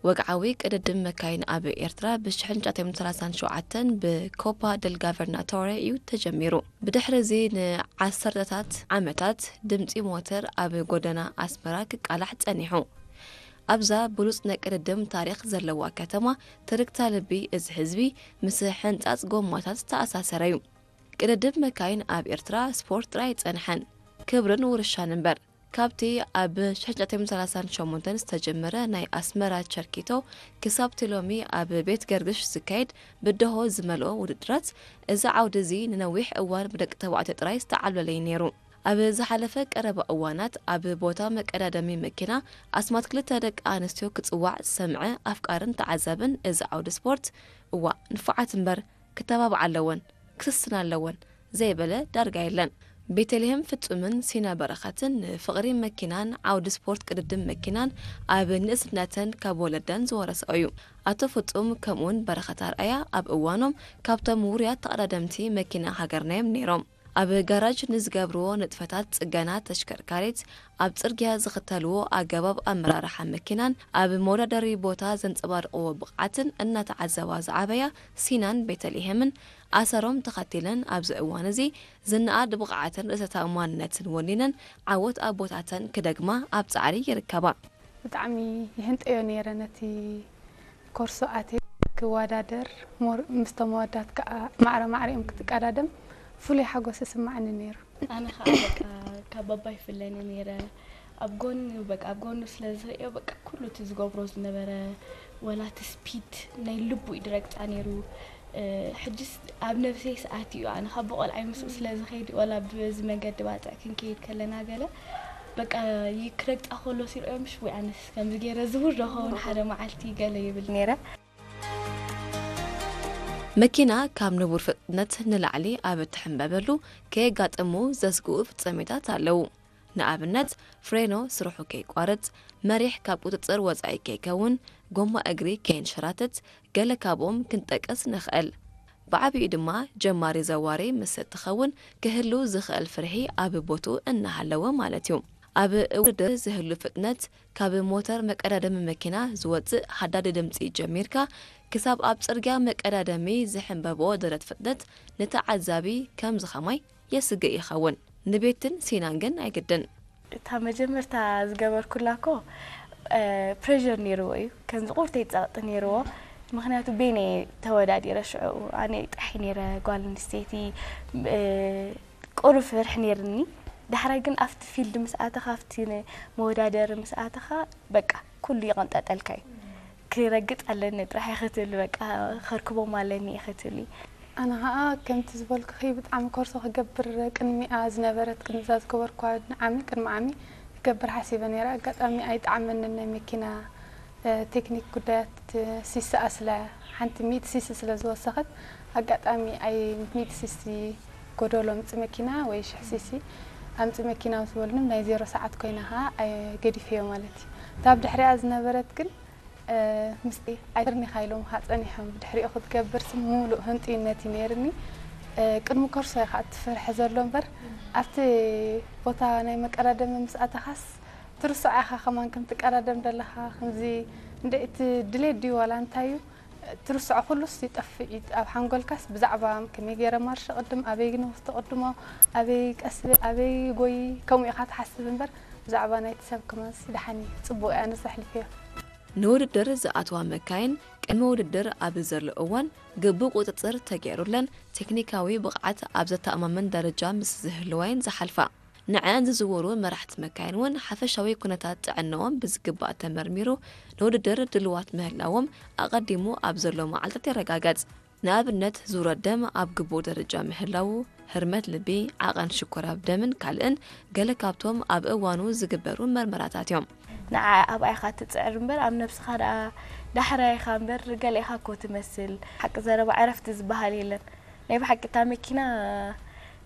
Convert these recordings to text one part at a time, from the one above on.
ወግዓዊ ቅድድም መካይን ኣብ ኤርትራ ብ ሽሕን ትሽዓተ ሚእትን ሰላሳን ሸውዓተን ብኮፓ ደል ጋቨርናቶሬ እዩ ተጀሚሩ። ብድሕሪ እዚ ንዓሰርተታት ዓመታት ድምጺ ሞተር ኣብ ጎደና ኣስመራ ክቃላሕ ጸኒሑ። ኣብዛ ብሉጽ ናይ ቅድድም ታሪኽ ዘለዋ ከተማ፣ ትርክታ ልቢ እዚ ህዝቢ ምስ ሕንጻጽ ጎማታት ዝተኣሳሰረ እዩ። ቅድድም መካይን ኣብ ኤርትራ ስፖርት ጥራይ ኣይጸንሐን፣ ክብርን ውርሻን እምበር። ካብቲ ኣብ ሽሕን ትሽዓተ ሚእትን ሰላሳን ሸሞንተን ዝተጀመረ ናይ ኣስመራ ቸርኪቶ ክሳብቲ ሎሚ ኣብ ቤት ገርግሽ ዝካየድ ብደሆ ዝመልኦ ውድድራት፣ እዚ ዓውዲ እዚ ንነዊሕ እዋን ብደቂ ተባዕትዮ ጥራይ ዝተዓብለለ እዩ ነይሩ። ኣብ ዝሓለፈ ቀረባ እዋናት ኣብ ቦታ መቀዳደሚ መኪና ኣስማት ክልተ ደቂ ኣንስትዮ ክጽዋዕ ዝሰምዐ ኣፍቃርን ተዓዛብን እዚ ዓውዲ ስፖርት፣ "እዋእ ንፉዓት እምበር ክተባብዓ ኣለወን፣ ክስስና ኣለወን" ዘይበለ ዳርጋ የለን። ቤተልሔም ፍጹምን ሲና በረኸትን ንፍቕሪ መኪናን ዓውዲ ስፖርት ቅድድም መኪናን ኣብ ንእስነተን ካብ ወለደን ዝወረስኦ እዩ። ኣቶ ፍጹም ከምኡውን በረኸት ኣርኣያ ኣብ እዋኖም ካብቶም ውሩያት ተቐዳደምቲ መኪና ሃገርና እዮም ነይሮም። ኣብ ጋራጅ ንዝገብርዎ ንጥፈታት ጽገና ተሽከርካሪት፣ ኣብ ጽርግያ ዝኽተልዎ ኣገባብ ኣመራርሓ መኪናን ኣብ መወዳደሪ ቦታ ዘንጸባርቕዎ ብቕዓትን እናተዓዘባ ዝዓበያ ሲናን ቤተልሔምን ኣሰሮም ተኸቲለን ኣብዚ እዋን እዚ ዝነኣድ ብቕዓትን ርእሰ ተኣማንነትን ወኒነን ዓወት ኣቦታተን ክደግማ ኣብ ጻዕሪ ይርከባ። ብጣዕሚ ይህንጠዮ ነይረ ነቲ ኮርሶ ኣትየ ክወዳደር፣ ሞር-፣ ምስቶም ኣወዳት ከኣ ማዕረ ማዕሪኦም ክትቀዳደም ፍሉይ ሓጎስ ይስማዓኒ ነይሩ። ኣነ ኸኣ በቃ ካብ ባባ ይፍለኒ ነይረ። ኣብ ጎኑ በቃ ኣብ ጎኑ ስለ ዝርእዮ በቃ ኩሉ እቲ ዝገብሮ ዝነበረ ወላ እቲ ስፒድ ናይ ልቡ እዩ ድረግጻ ነይሩ። ሕጅስ ኣብ ነብሰይ ሰኣት እዩ ኣነ ካብ ብቆልዓይ ምስኡ ስለ ዝኸይድ ወላ በዚ መንገዲ ባጽዕ ክንከይድ ከለና ገለ በቃ ክረግጻ ከሎ ሲርእዮ ምሽ ወይ ኣነስ ከምዚ ገይረ ዝውር ዶ ኸውን ሓደ መዓልቲ ገለ ይብል ነይረ። መኪና ካብ ንቡር ፍጥነት ንላዕሊ ኣብ እትሕምበበሉ ከየጋጥሙ ዘስግኡ ፍጻሜታት ኣለዉ። ንኣብነት ፍሬኖ ስርሑ ከይቋርጽ፣ መሪሕ ካብ ቁጽጽር ወጻኢ ከይከውን፣ ጎማ እግሪ ከየንሸራትት፣ ገለ ካብኦም ክንጠቅስ ንኽእል። ብዓቢኡ ድማ ጀማሪ ዘዋሪ ምስ እትኸውን ክህሉ ዝኽእል ፍርሒ ኣብ ቦትኡ እናሃለወ ማለት እዩ። ኣብ ውድድር ዝህሉ ፍጥነት ካብ ሞተር መቀዳደሚ መኪና ዝወጽእ ሃዳዲ ድምጺ ጀሚርካ ክሳብ ኣብ ጽርግያ መቀዳደሚ ዝሕንበብኦ ደረት ፍጥነት ንተዓዛቢ ከምዚ ኸማይ የስግእ ይኸውን። ንቤትን ሲናን ግን ኣይግድን። እታ መጀመርታ ዝገበርኩላ እኮ ፕሬር ነይርዎ እዩ ከምዚ ቁርተይ ጸቕጢ ነይርዎ ምክንያቱ ቤነ ተወዳዲረ ሽዑ ኣነ ጥራሕ ነይረ ጓል ኣንስተይቲ ቁሩብ ፍርሒ ነይርኒ ዳሕራይ ግን ኣብቲ ፊልድ ምስ ኣተኻ ኣብቲ መወዳደሪ ምስ ኣተኻ በቃ ኩሉ ይቐንጠጠልካ እዩ ክረግጽ ኣለኒ ጥራሕ ክትብል በቃ ከርክቦም ኣለኒ ክትብል እዩ ኣነ ኸኣ ከምቲ ዝበልኩኺ ብጣዕሚ ኮርሶ ክገብር ቅድሚኣ ዝነበረት ቅድሚ እዛ ዝገበርኳ ዓሚ ቅድሚ ዓሚ ክገብር ሓሲበ ነይረ ኣጋጣሚ ኣይጠዓመንን ናይ መኪና ቴክኒክ ጉዳያት ሲስኣ ስለ ሓንቲ ሚእቲ ሲሲ ስለ ዝወሰኸት ኣጋጣሚ ኣይ ሚእቲ ሲሲ ጎደሎ ኣምጺ መኪና ወይ ሽሕ ሲሲ ኣምጺ መኪና ምስ በሉኒ ናይ ዜሮ ሰዓት ኮይና ኸኣ ገዲፈዮ ማለት እዩ። እታ ኣብ ድሕሪኣ ዝነበረት ግን ምስጢ ኣይትርኒኻ ኢሎምኻ ጸኒሖም ብድሕሪኡ ክትገብር ስም ምሉእ ህንጥዩነት እዩ ነይርኒ። ቅድሚ ኮርሶ እዩ ከዓ እቲ ፍርሒ ዘሎ እምበር ኣብቲ ቦታ ናይ መቀዳደሚ ምስ ኣተኻስ ትርስዖ ኢኻ ከማን ከም ትቀዳደም ዘለኻ ከምዚ እንደ እቲ ድሌት ድዩ ዋላ እንታይ እዩ ትርስዖ ኩሉስ ይጠፍእ እዩ ኣብ ሓንጎልካስ ብዛዕባ ከመይ ገይረ ማርሽ ቅድም ኣበይ ንውስቲ ቅድሞ ኣበይ ቀስ ኣበይ ጎይ ከምኡ ኢኻ ትሓስብ እምበር ብዛዕባ ናይቲ ሰብ ከማንስ ደሓን እዩ ጽቡቅ እያ ንስ ኣሕሊፈዮ። ንውድድር ዝኣትዋ መካይን ቅድሚ ውድድር ኣብ ዘሎ እዋን ግቡእ ቁጽጽር ተገይሩለን ቴክኒካዊ ብቕዓት ኣብ ዘተኣማምን ደረጃ ምስ ዝህልዋ እየን ዝሓልፋ። ንዐኣን ዝዝውሩ መራሕቲ መካይን እውን ሓፈሻዊ ኩነታት ጥዕንኦም ብዝግባእ ተመርሚሩ ንውድድር ድልዋት ምህላዎም ኣቐዲሙ ኣብ ዘሎ መዓልታት ይረጋገጽ። ንኣብነት ዙረት ደም ኣብ ግቡእ ደረጃ ምህላዉ፣ ህርመት ልቢ፣ ዓቐን ሽኮር ኣብ ደምን ካልእን ገለ ካብቶም ኣብ እዋኑ ዝግበሩ መርመራታት እዮም። ንዓ ኣብኣ ኢኻ ትጽዕር እምበር ኣብ ነብስኻ ደኣ ዳሕራይ ኢኻ እምበር ገለ ኢኻ እኮ ትመስል። ሓቂ ዘረባ ዕረፍቲ ዝበሃል የለን። ናይ ብሓቂ እታ መኪና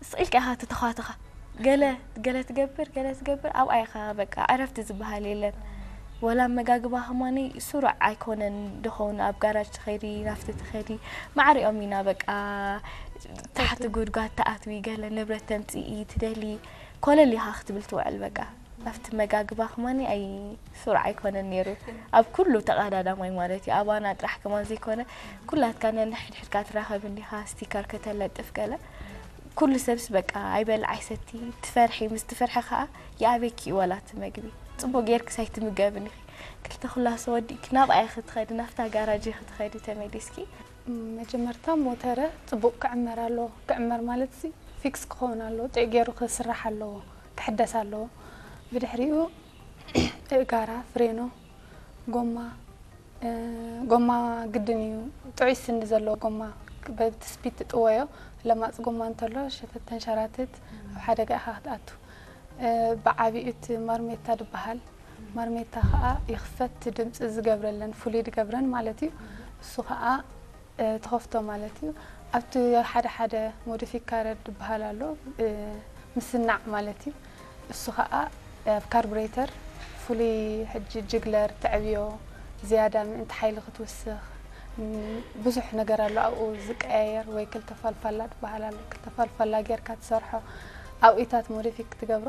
ስቕ ኢልካ ኢኻ ትተዃትኻ። ገለ ገለ ትገብር ገለ ትገብር ኣብኣ ኢኻ በቃ ዕረፍቲ ዝበሃል የለን። ወላ ኣመጋግባ ከማኒ ስሩዕ ኣይኮነን ደኾን ኣብ ጋራጅ ትኸዲ ናፍቲ ትኸዲ ማዕሪኦም ኢና በቃ ታሕቲ ጉድጓድ ትኣትዊ ገለ ንብረት ተምፅኢ ትደሊ ኮለል ኢኻ ክትብል ትውዕል በቃ ኣብቲ መጋግባ ከማኒ ኣይ ስሩዕ ኣይኮነን ነይሩ። ኣብ ኩሉ ተቐዳዳማይ ማለት እዩ። ኣባና ጥራሕ ከማን ዘይኮነ ኩላትካ ነንሕድሕድካ ትራኸብ እንዲኻ፣ ስቲከር ከተለጥፍ ገለ። ኩሉ ሰብስ በቃ ኣይበልዕ ኣይሰቲ ትፈርሒ፣ ምስ ትፈርሒ ከኣ ይኣበኪ እዩ ዋላ እቲ መግቢ። ጽቡቕ ጌርክስ ኣይትምገብን ኢኺ። ክልተ ኩላሶ ወዲእኪ ናብኣ ኢኺ ትኸዲ፣ ናብታ ጋራጅ ኢኺ ትኸዲ ተመሊስኪ። መጀመርታ ሞተረ ጽቡቕ ክዕመር ኣለዎ። ክዕመር ማለት ሲ ፊክስ ክኸውን ኣለዎ። ጥዕ ገይሩ ክስራሕ ኣለዎ። ክሕደስ ኣለዎ። ብድሕሪኡ እእጋራ፣ ፍሬኖ፣ ጎማ፣ እ፣ ጎማ ግድን እዩ። ጥዑይ ስንዲ ዘለዎ ጎማ በቲ ስፒድ ትጥወዮ። ለማጽ ጎማ እንተሎ ሸተት ተንሸራትት ኣብ ሓደጋ ኢኻ ክትኣቱ። እ፣ ብዓቢኡ እቲ ማርሜታ ዝበሃል። ማርሜታ ኸኣ ይኽፈት፣ ድምጺ ዝገብረለን፣ ፍሉይ ዝገብረን ማለት እዩ። እሱ ኸኣ፣ እ፣ ትኸፍቶ ማለት እዩ። ኣብቲ ሓደ ሓደ ሞዲፊካረር ዝበሃል ኣሎ፣ እ፣ ምስናዕ ማለት እዩ። እሱ ኸኣ ኣብ ካርቡሬተር ፍሉይ ሕጂ ጅግለር ተዕብዮ ዝያዳ ምእንቲ ሓይሊ ክትውስኽ፣ ም፣ ብዙሕ ነገር ኣሎ ኣብኡ ዝቀያየር፣ ወይ ክልተ ፋልፋላ ዝበሃል ኣሎ። ክልተ ፋልፋላ ጌርካ ትሰርሖ ኣብኡታት ሞዲፊክ ትገብሮ።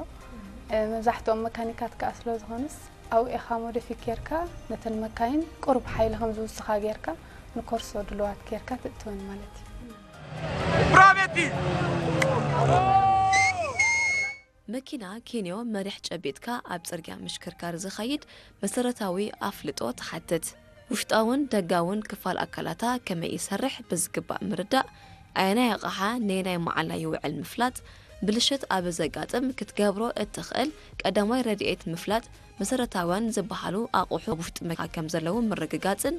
እ፣ መብዛሕትኦም መካኒካት ከኣ ስለ ዝኾኑስ ኣብኡ ኢኻ ሞዲፊክ ጌርካ ነተን መካይን ቁሩብ ሓይሊ ከም ዝውስኻ ጌርካ ንኮርሶ ድልዋት ጌርካ ትእትወን ማለት እዩ። Bravetti! መኪና ኬንዮ መሪሕ ጨቢጥካ ኣብ ጽርግያ ምሽክርካር ዝኸይድ መሰረታዊ ኣፍልጦ ትሓትት። ውሽጣውን ደጋውን ክፋል ኣካላታ ከመይ ይሰርሕ ብዝግባእ ምርዳእ፣ ኣየናይ ኣቕሓ ነየናይ መዓላ ይውዕል ምፍላጥ፣ ብልሽት ኣብ ዘጋጥም ክትገብሮ እትኽእል ቀዳማይ ረድኤት ምፍላጥ፣ መሰረታውያን ዝበሃሉ ኣቑሑ ኣብ ውሽጢ መኪና ከም ዘለዉ ምርግጋጽን